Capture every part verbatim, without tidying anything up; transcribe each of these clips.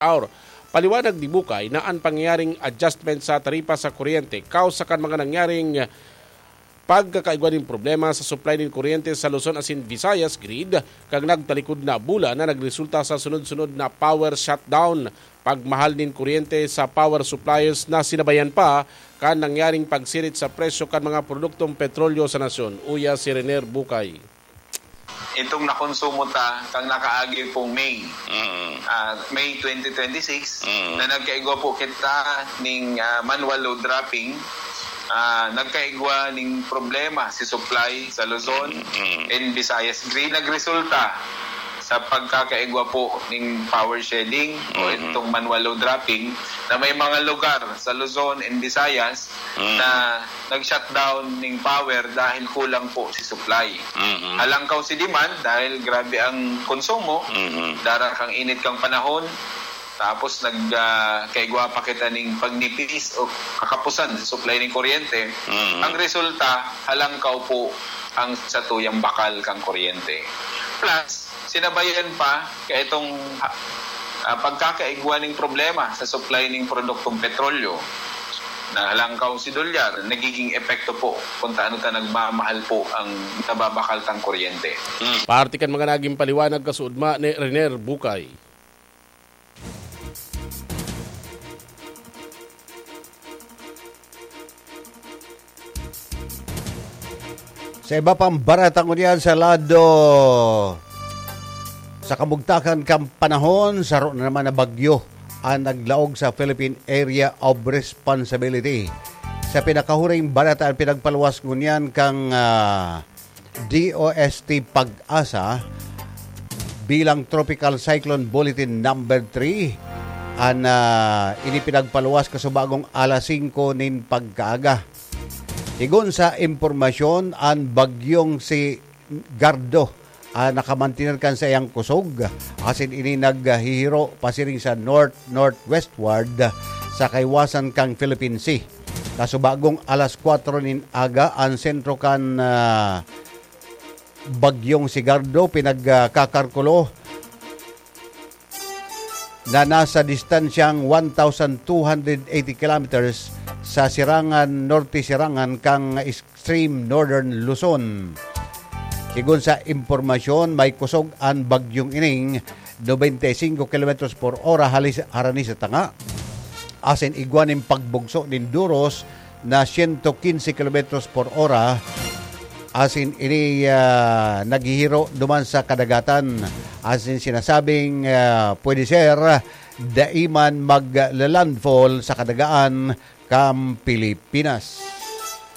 Aur. Paliwanag ni Bukay na an pangyayaring adjustment sa taripa sa kuryente kausa kan mga nangyaring pagkakaigwa nin problema sa supply nin kuryente sa Luzon asin Visayas grid kan nagtalikod na bulan na nagresulta sa sunod-sunod na power shutdown, pagmahal nin kuryente sa power suppliers na sinabayan pa kan nangyaring pagsirit sa presyo kan mga produktong petrolyo sa nasyon. Uya si Renier Bukay. Itong nakonsumo ta kang nakaagi pong May, Mm. ah, May twenty twenty-six, Mm. na nagkaigwa po kita ning, ah, manual load dropping, ah, nagkaigwa ning problema si supply sa Luzon Mm. and Visayas grid. Nagresulta sa pagkakaigwa po ning power shedding o Mm. itong manual load dropping na may mga lugar sa Luzon and Visayas Mm. na nag-shutdown ning power dahil kulang po si supply. Mm. Halangkaw si demand dahil grabe ang konsumo, Mm. dara kang init kang panahon, tapos nag, ah, kaigwa pa kita ning pagnipis o kakapusan sa supply ning kuryente. Mm. Ang resulta, halangkaw po ang satuyang bakal kang kuryente. Plus, sinabayan pa ka itong, ah, pagkakaigwa ning problema sa supply ning produktong petrolyo. Nahalangkaw si dolyar, nagiging epekto po kung taano ta nagmamahal po ang nababakal tang kuryente. Parte kan mga naging paliwanag kasuodma ni Renier Bukay. Sa iba pang barata ngunyan sa lado, sa kamugtakan kan panahon, saro na naman na bagyo ang naglaog sa Philippine Area of Responsibility. Sa pinakahuring barata, ang pinagpaluwas ngunyan kang, ah, D O S T Pag-asa bilang Tropical Cyclone Bulletin Number three, an, ah, ini pinagpaluwas kasubagong alas singko nin pagkaaga. Sigon sa impormasyon, an bagyong si Gardo, ah, nakamantener kan saiyang kusog, asin ini naghihiro pasiring sa north-northwestward sa kaiwasan kan Philippine Sea. Kasubagong alas kwatro nin aga, an sentro kan, ah, bagyong si Gardo pinagkakarkulo na nasa distansyang one thousand two hundred eighty kilometers sa sirangan, norte sirangan kan extreme northern Luzon. Sigon sa impormasyon, may kusog an bagyong ining nobenta y singko kilometros por ora halis, harani sa tanga, asin igwa nin pagbugso nin duros na sento kinse kilometros por ora, asin ini, ah, naghihiro duman sa kadagatan, asin sinasabing, ah, pwede ser dai man magla-landfall sa kadagaan kan Pilipinas.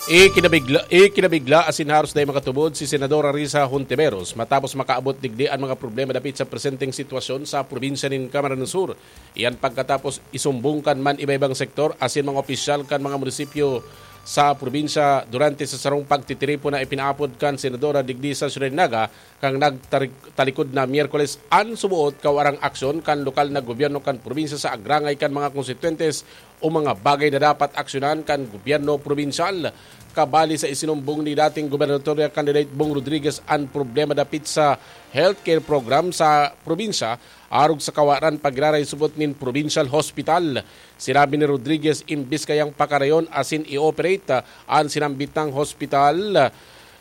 Ikinabigla, ikinabigla asin haros dai makatubod si Senadora Risa Hontiveros matapos makaabot digdi an mga problema dapit sa presenteng sitwasyon sa probinsya nin Camarines Sur. Iyan pagkatapos isumbong kan man iba-ibang sektor asin mga opisyal kan mga munisipyo sa probinsya durante sa sarong pagtitiripon na ipinaapod kan senadora digdi sa Ciudad Naga kan nagtarik-, talikod na Miyerkules an suboot kawarang aksyon kan lokal na gobyerno kan probinsya sa agrangay kan mga konstituyentes o mga bagay na dapat aksyonan kan gobyerno probinsyal. Kabali sa isinumbong ni dating gobernador candidate Bong Rodriguez an problema dapit sa healthcare program sa probinsya, arog sa kawaran pagiraray subot nin provincial hospital. Sinabi ni Rodriguez, imbis kayang pakarayon asin i-operate an sinambit nang hospital,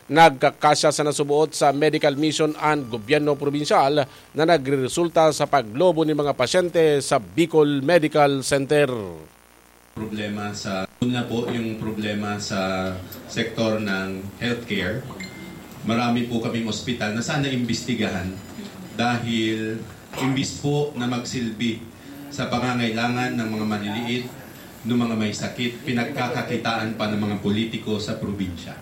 nagkakasya sa nasuboot sa medical mission an gobyerno probinsyal na nagreresulta sa paglobo nin mga pasyente sa Bicol Medical Center. Problema sa, una po, yung problema sa sektor ng healthcare. Marami po kaming ospital na sana imbestigahan dahil imbis po na magsilbi sa pangangailangan ng mga maliliit, ng mga may sakit, pinagkakakitaan pa ng mga politiko sa probinsya.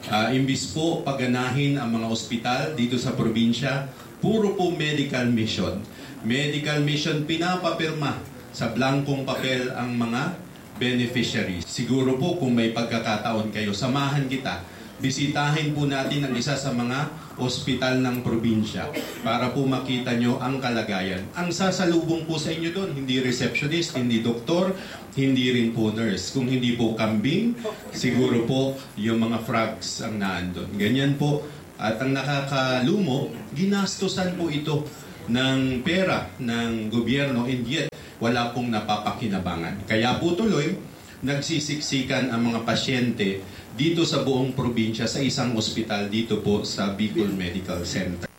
Ah, imbis po paganahin ang mga ospital dito sa probinsya, puro po medical mission. Medical mission, pinapapirma sa blankong papel ang mga beneficiaries. Siguro po kung may pagkakataon kayo, samahan kita. Bisitahin po natin ang isa sa mga ospital ng probinsya para po makita nyo ang kalagayan. Ang sasalubong po sa inyo doon, hindi receptionist, hindi doktor, hindi rin po nurse. Kung hindi po kambing, siguro po yung mga frogs ang naandun. Ganyan po. At ang nakakalumo, ginastosan po ito ng pera ng gobyerno, and yet wala pong napapakinabangan. Kaya po tuloy, nagsisiksikan ang mga pasyente dito sa buong probinsya sa isang ospital dito po sa Bicol Medical Center.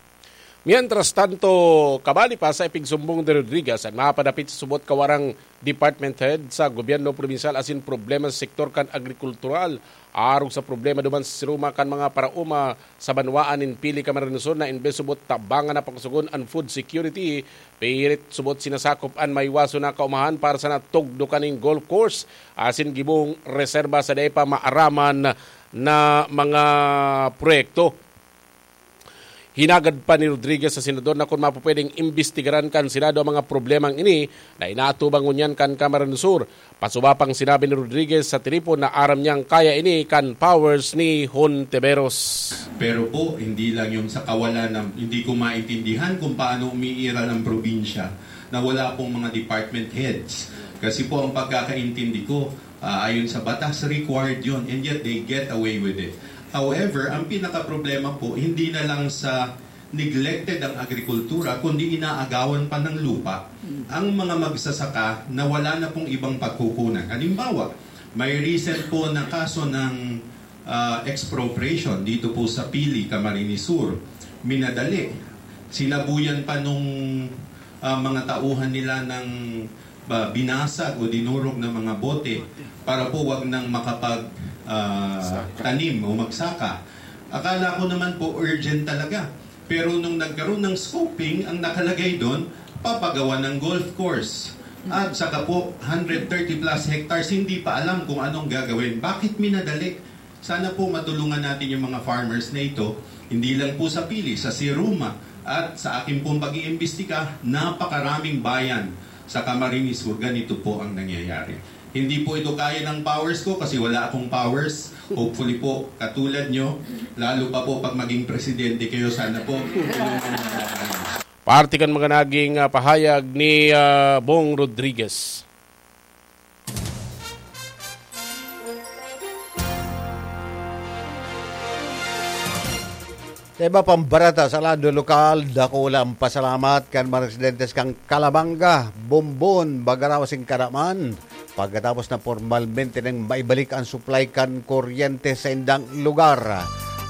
Mientras tanto, kabali pa sa ipigsumbong ni Rodriguez an mapadapit sa subot kawarang department head sa gobyerno probinsyal asin problema sa sektor kan agrikultural, arog sa problema duman sa siruma kan mga paraoma sa banwaan nin Pili, Camarines Sur, na imbes subot tabangan na pakusugon an food security, pirit subot sinasakop an maiwason na kaumahan para sa natugdo kaning golf course asin gibong reserba sa dai pa maaraman na mga proyekto. Hinagad pa ni Rodriguez sa senador na kun mapupwedeng imbestigaran kan Senado ang mga problemang ini na inaatubang ngunyan kan Camarines Sur. Pasuba pang sinabi ni Rodriguez sa telipon na aram niyang kaya ini kan powers ni Hontiveros. Pero po, hindi lang yung sa kawalan ng, hindi ko maintindihan kung paano umiiral ang probinsya na wala pong mga department heads. Kasi po ang pagkakaintindi ko, ah, ayon sa batas, required yun. And yet they get away with it. However, ang pinakaproblema po, hindi na lang sa neglected ang agrikultura, kundi inaagawan pa ng lupa ang mga magsasaka na wala na pong ibang pagkukunan. Halimbawa, may recent po na kaso ng, ah, expropriation dito po sa Pili, Camarines Sur. Minadali. Sinabuyan pa nung, ah, mga tauhan nila ng ba, binasag o dinurog ng mga bote para po wag nang makapag, ah, tanim o magsaka. Akala ko naman po urgent talaga. Pero nung nagkaroon ng scoping, ang nakalagay doon, papagawa ng golf course. At saka po, hundred thirty plus hectares, hindi pa alam kung anong gagawin. Bakit minadali? Sana po matulungan natin yung mga farmers na ito, hindi lang po sa Pili, sa Siruma, at sa akin pong pag-iimbestiga, napakaraming bayan sa Camarines Sur, ganito po ang nangyayari. Hindi po ito kaya ng powers ko kasi wala akong powers. Hopefully po, katulad nyo, lalo pa po pag maging presidente kayo, sana po, tulungan nyo ako. Parte kan mga naging, ah, pahayag ni, ah, Bong Rodriguez. Sa iba pang bareta sa lado lokal, dakula ang pasalamat kan mga residentes kan Calabanga, Bombon, Bagarao asin Caraman, pagkatapos na pormalmente nang maibalik ang supply kan kuryente sa indang lugar.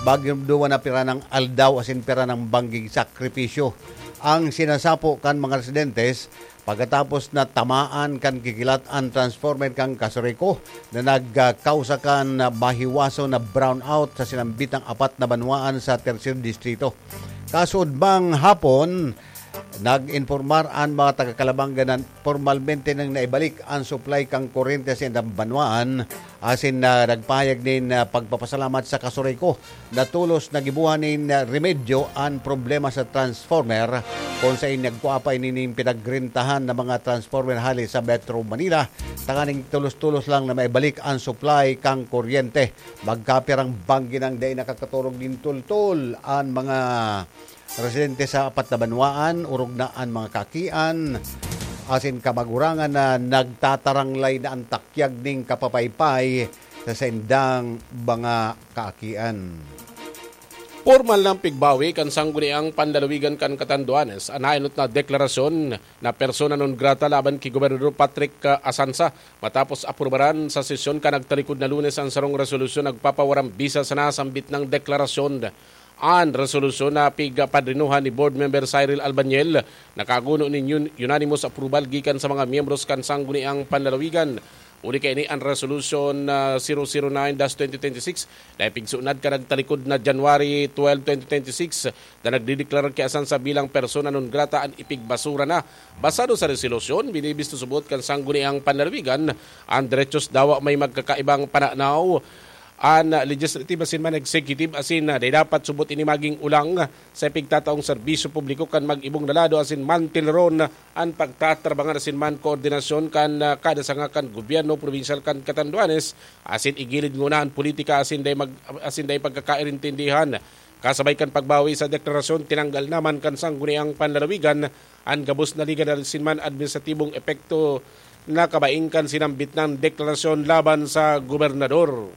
Bagyong duwa na pira ng aldaw asin pira ng bangging sakripisyo ang sinasapo kan mga residentes pagkatapos na tamaan kan kikilat an transformer kan Casureco na nagkausa kan mahiwason na brownout sa sinambitang apat na banwaan sa Tercer Distrito. Kasuodmang hapon, nag-impormar an mga taga Calabanga na pormalmente nang naibalik an supply kan kuryente sa indang banwaan asin na nagpahayag nin, ah, pagpapasalamat sa Casureco na tolos na gibuhan nin, ah, remedyo an problema sa transformer, kun saen nagkua pa ini nin pinagrentahan na mga transformer hale sa Metro Manila, tanganing tolos-tolos lang na maibalik an supply kan kuryente. Magkapirang banggi nang dai nakakaturog nin tultol an mga residente sa apat na banwaan, orog na an mga kaakian, asin kamagurangan na nagtataranglay na an takyag nin kapapaypay sa saindang mga kaakian. Pormal nang pigbawi kan Sangguniang Panlalawigan kan Catanduanes an naenot na deklarasyon na persona non grata laban ki Gobernador Patrick, ah, Asansa, matapos aprubaran sa sesyon kan nagtalikod na Lunes an sarong resolusyon nagpapawarang bisa sa nasambit nang deklarasyon. An resolusyon na pigpadrinuhan ni Board Member Cyril Albaniel, nakaguno nin un-, unanimous approval gikan sa mga miyembros kan Sangguniang Panlalawigan. Huli kaini an Resolution, ah, zero zero nine dash twenty twenty-six na ipigsunad kan nagtalikod na January twelve, twenty twenty-six, na nagdedeklara ki Asansa bilang persona non grata an ipigbasura na. Basado sa resolusyon, binibisto subot kan Sangguniang Panlalawigan an derechos dawa may magkakaibang pananaw an legislative asin man executive asin, ah, dai dapat subot ini magin ulang sa ipigtataong serbisyo publiko kan mag-ibong na lado asin mantileron an pagtatrabangan asin man koordinasyon kan, ah, kada sanga kan gobyerno probinsyal kan Catanduanes asin igilid nguna an politika asin dai mag-, asin dai pagkakairintindihan. Kasabay kan pagbawi sa deklarasyon, tinanggal naman kan Sangguniang Panlalawigan an gabos na legal asin man administratibong epekto na kabaing kan sinambit na deklarasyon laban sa gobernador.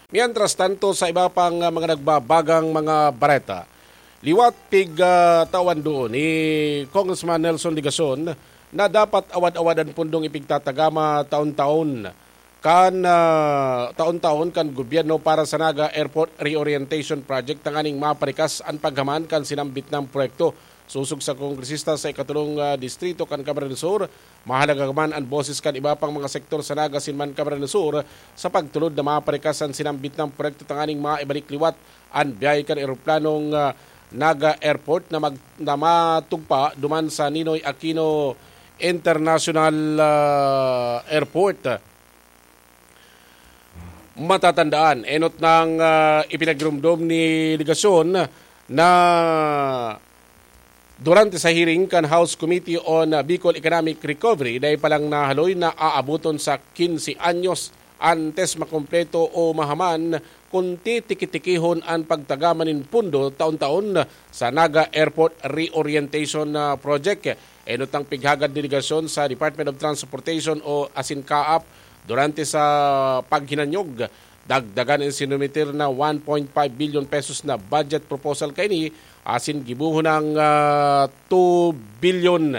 Mientras tanto, sa iba pang, ah, mga nagbabagang mga bareta, liwat pig, ah, tawan doon ni Congressman Nelson Legacion na dapat awad-awad an pundong ipigtatagama taon-taon kan, ah, taon-taon kan gobyerno para sa Naga Airport Reorientation Project tanganing maparikas an paghaman kan sinambit na proyekto. Sosog sa kongresista sa ikatulong, ah, distrito kan Camarines Sur, mahalaga man an boses kan iba pang mga sektor sa Naga asin man Camarines Sur sa pagtulod na maparikas an sinambit na proyekto tanganing maibalik liwat an biyahe kan eroplanong, ah, Naga Airport na mag-, na matugpa duman sa Ninoy Aquino International, ah, Airport. Matatandaan, enot nang, ah, ipinagirumdom ni Legacion na durante sa hearing kan House Committee on, ah, Bicol Economic Recovery, dai pa lang nahaloy na aaboton sa quince anyos antes makompleto o mahaman kun titiki-tikihon an pagtagama nin pondo taon-taon sa Naga Airport Reorientation, ah, Project. Enot ang pighagad delegasyon sa Department of Transportation o asin CAAP durante sa paghinanyog. Dagdagan an sinumitir na one point five billion pesos na budget proposal kaini asin gibohon ang, ah, two billion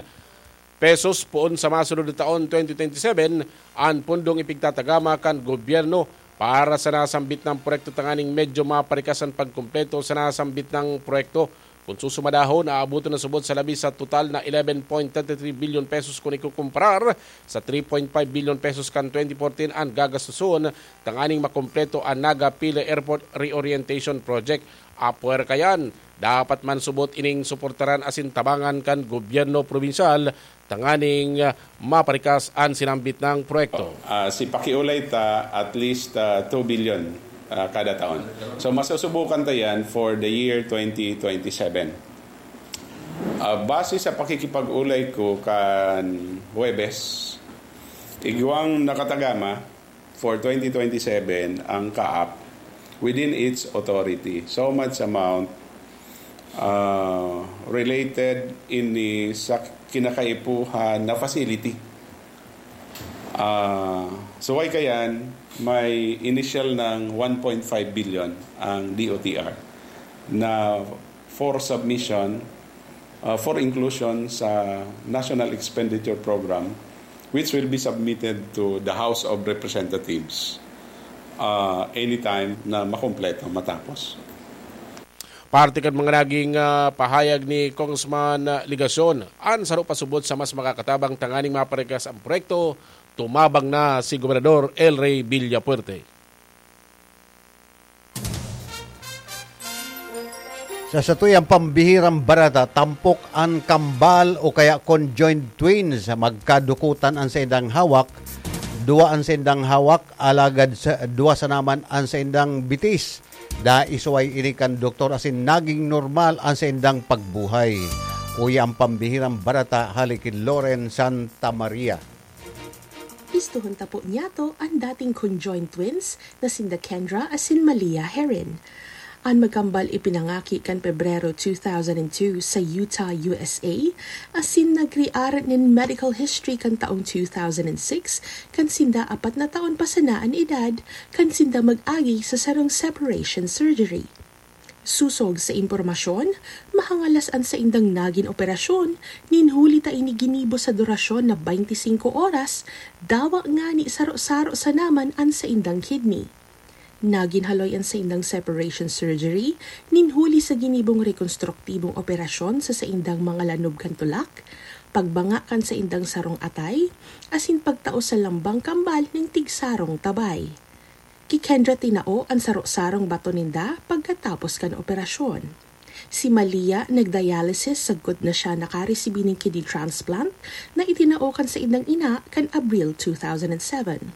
pesos poon sa masunod na taon, twenty twenty-seven, an pundong ipigtatagama kan gobyerno para sa nasambit na proyekto tanganing medyo maparikas an pagkumpleto sa nasambit na proyekto. Kun susumadahon, aaboton na subot sa labi sa total na eleven point thirty three billion pesos kun ikukumparar sa three point five billion pesos kan twenty fourteen an gagastuson tanganing makumpleto an Naga Pili Airport Reorientation Project. Apwera kayan, dapat man subot ining suportaran asin tabangan kan gobyerno probinsyal tanganing, ah, maparikas an sinambit na proyekto. Ah, si pakiulay ta at least, ah, two billion, ah, kada taon. So, masusubukan ta yan for the year twenty twenty-seven. Ah, base sa pakikipag-ulay ko kan Huwebes, igwang nakatagama for twenty twenty-seven ang CAAP within its authority. So much amount, ah, related ini sa kinakaipuhan na facility. Ah, suway kayan, may initial ng one point five billion ang D O T R na for submission, ah, for inclusion sa National Expenditure Program, which will be submitted to the House of Representatives, ah, anytime na makompleto, matapos. Parte kan mga naging, ah, pahayag ni Congressman, ah, Legacion, an saro pasubot sa mas makakatabang tanganing maparikas ang proyekto, tumabang na si Gobernador El Rey Villafuerte. Sa satuyang pambihirang bareta, tampok an kambal o kaya conjoined twins. Magkadukutan an saindang hawak, duwa an saindang hawak, alagad sa, duwa sana man an saindang bitis. Naisuway ini kan doktor asin naging normal an saindang pagbuhay. Uya an pambihirang bareta hale ki Loren Santa Maria. Istohon ta po niyato an dating conjoined twins na sinda Kendra asin Malia Herin. An magkambal ipinangaki kan Pebrero two thousand and two sa Utah, U S A, asin nagriaran nin medical history kan taong two thousand and six, kan sinda apat na taon pa sana an edad, kan sinda mag-agi sa sarong separation surgery. Sosog sa impormasyon, mahangalas an saindang nagin operasyon, nin huli ta ini ginibo sa durasyon na baynte singko oras, dawa ngani saro-saro sana man an saindang kidney. Nagin haloy an saindang separation surgery, nin huli sa ginibong rekonstruktibong operasyon sa saindang mga lanob kan tulak, pagbanga kan saindang sarong atay, asin pagtao sa lambang kambal nin tigsarong tabay. Ki Kendra tinao an saro-sarong bato ninda pagkatapos kan operasyon. Si Malia nagdialysis sagkod na siya nakaresibi nin kidney transplant na itinao kan saindang ina kan Abril two thousand and seven.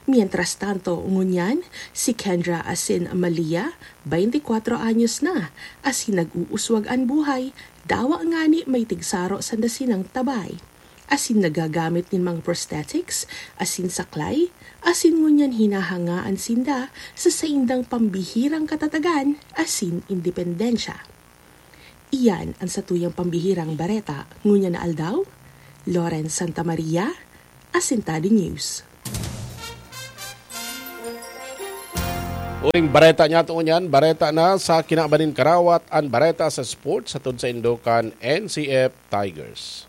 Mientras tanto, ngunyan, si Kendra asin Malia, baynte kwatro anyos na, asin nag-uuswag an buhay, dawa ngani may tigsaro sanda sinang tabay. Asin nagagamit nin mga prosthetics, asin saklay, asin ngunyan hinahangaan sinda sa saindang pambihirang katatagan asin independensya. Iyan an satuyang pambihirang bareta ngunyan na aldaw. Loren Santa Maria, Asintado News. Uling bareta niya to niyan, bareta na sa kinaban nin karawat, an bareta sa sports hatod sa Indokan N C F Tigers.